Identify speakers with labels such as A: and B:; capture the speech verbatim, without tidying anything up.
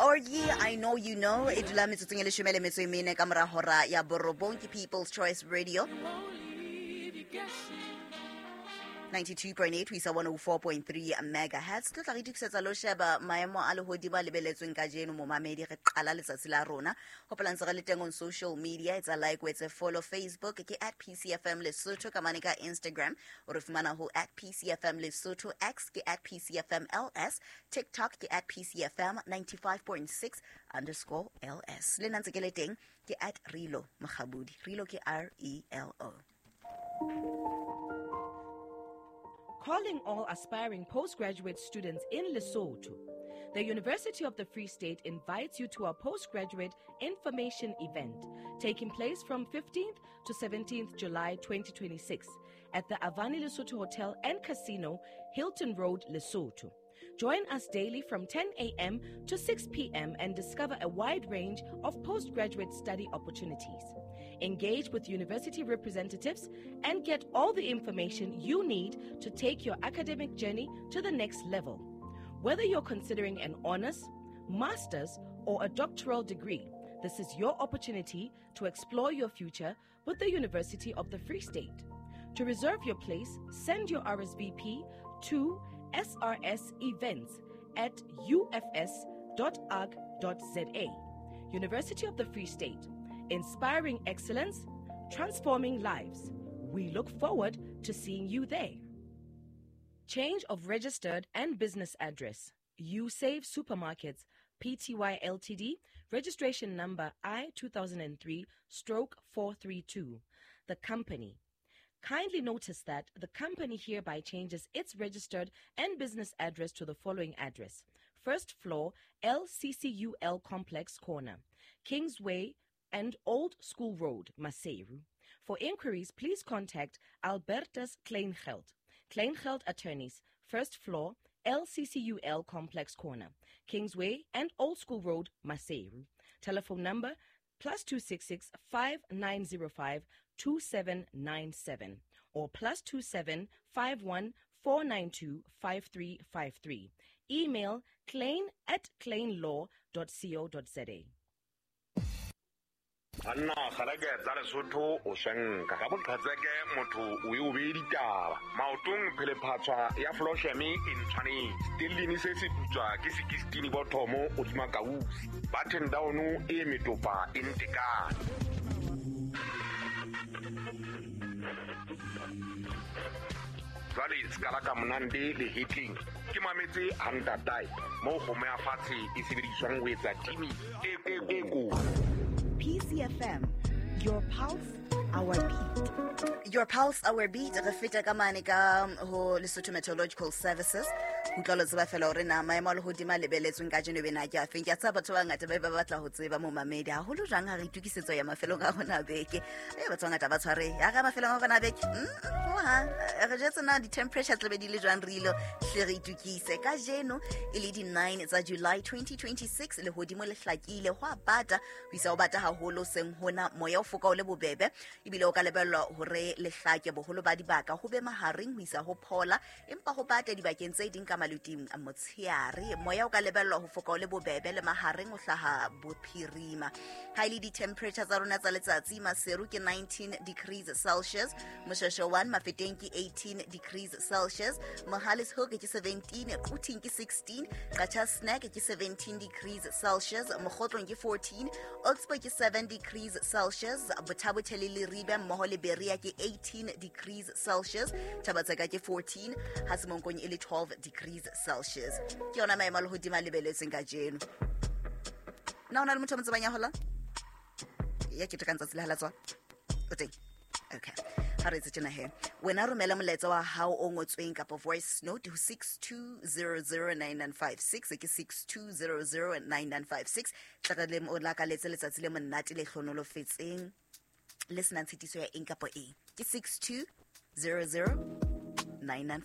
A: Orgy, I Know You Know, e dula metsotsong e leshome le metso e mene ka mora hora ya borobong ke People's Choice Radio. ninety-two point eight ho isa one oh four point three megahertz. Tlo tla re itokisetsa lo sheba maemo a lehodimo a lebeletsweng kajeno momamedi re qala letsatsi la rona. Hopola ntse re le teng on social media, etsa like, o etse follow Facebook ke at P C F M Lesotho, ka mane ka Instagram o re fumana ho at P C F M Lesotho, X ke at P C F M L S, TikTok ke at P C F M ninety-five point six underscore L S. Le nna ntse ke le teng ke at Relo Mokgabudi. Relo ke R E L O.
B: Calling all aspiring postgraduate students in Lesotho. The University of the Free State invites you to our postgraduate information event taking place from fifteenth to seventeenth July twenty twenty-six at the Avani Lesotho Hotel and Casino, Hilton Road, Lesotho. Join us daily from ten a.m. to six p.m. and discover a wide range of postgraduate study opportunities. Engage with university representatives and get all the information you need to take your academic journey to the next level. Whether you're considering an honors, master's, or a doctoral degree, this is your opportunity to explore your future with the University of the Free State. To reserve your place, send your R S V P to S R S events at U F S dot org dot Z A. University of the Free State, inspiring excellence, transforming lives. We look forward to seeing you there. Change of registered and business address. YouSave Supermarkets, P T Y L T D, registration number I two thousand three stroke four three two. The company. Kindly notice that the company hereby changes its registered and business address to the following address. First floor, L C C U L Complex Corner, Kingsway and Old School Road, Maseru. For inquiries, please contact Albertus Kleingeld. Kleingeld Attorneys, first floor, L C C U L Complex Corner, Kingsway and Old School Road, Maseru. Telephone number plus two six six five nine zero five two seven nine seven or plus two seven five one four nine two five three five three. Email klein at kleinlaw dot co dot za.
C: Anna gareke tsa Lesotho o senka ka boqhatseke motho o e o be ditaba maotong phele phatswa ya Flosheme e ntshwanetse tellini se se putswa ke sixteen bothomo o dima kausi button down e metopa e ntekane jwale skala ka monande le hitling ke mametse hantatai mo kgomo ya fatshe e sebediswang ho etsa timi e e ko
A: P C F M, your pulse, our beat. Your pulse, our beat. Re feta ka mane ka ho Lesotho Meteorological Services. Utlwa lo tseba fela hore na maemo a lehodimo a lebeletsweng kajeno bena ke afeng. Ke a tseba batho ba bangata ba ba batla ho tseba momamedi haholo jwang ha re itokisetso ya mafelong a rona a beke. Eh, batho ba bangata ba tshware ya re mafelong a rona a beke. Mm, hohang. Re jwetse na di-temperature tla be di le jwang re ilo hle re itokise. Kajeno e le di-nine tsa July twenty twenty-six, lehodimo le hlakile, ho a bata, ho isa ho bata haholo seng hona, moya o foka o le bobebe, ebile o ka lebellwa hore le hlake boholo ba dibaka ho be mahareng ho isa ho phola, empa ho bata dibakeng tse ding ka maluting a motsheare. Moya o ka lebellwa ho foka o le bobebe le mahareng o hlaha bophirima. Ha ile di-temperature tsa rona tsa letsatsi, Maseru ke nineteen degrees Celsius, Moshweshwe one, Mafeteng ke eighteen degrees Celsius, Mohale's Hoek ke seventeen, Quthing ke sixteen, Qacha's Nek ke seventeen degrees Celsius, Mokhotlong ke fourteen, Oxford ke seven degrees Celsius, Botha-Bothe le Leribe mmoho le Berea ke eighteen degrees Celsius, Thabatseka ke fourteen, ha Semonkong e le twelve degrees Celsius. Ke yona maemo a lehodimo a lebeletsweng kajeno. Na ho na le motho a mo tsebang ya hola? Ya ketekang tsatsi le ha la tswa? O teng? Okay. Ha re etse tjena he. Wena romela molaetsa wa hao o ngotsweng kapa voice note ho six two zero zero nine nine five six, ke six two zero zero nine nine five six. Tla re le o lakaletse letsatsi le monate le hlonolofetseng le senang tshitiso ya eng kapa eng. Ke six two zero zero nine nine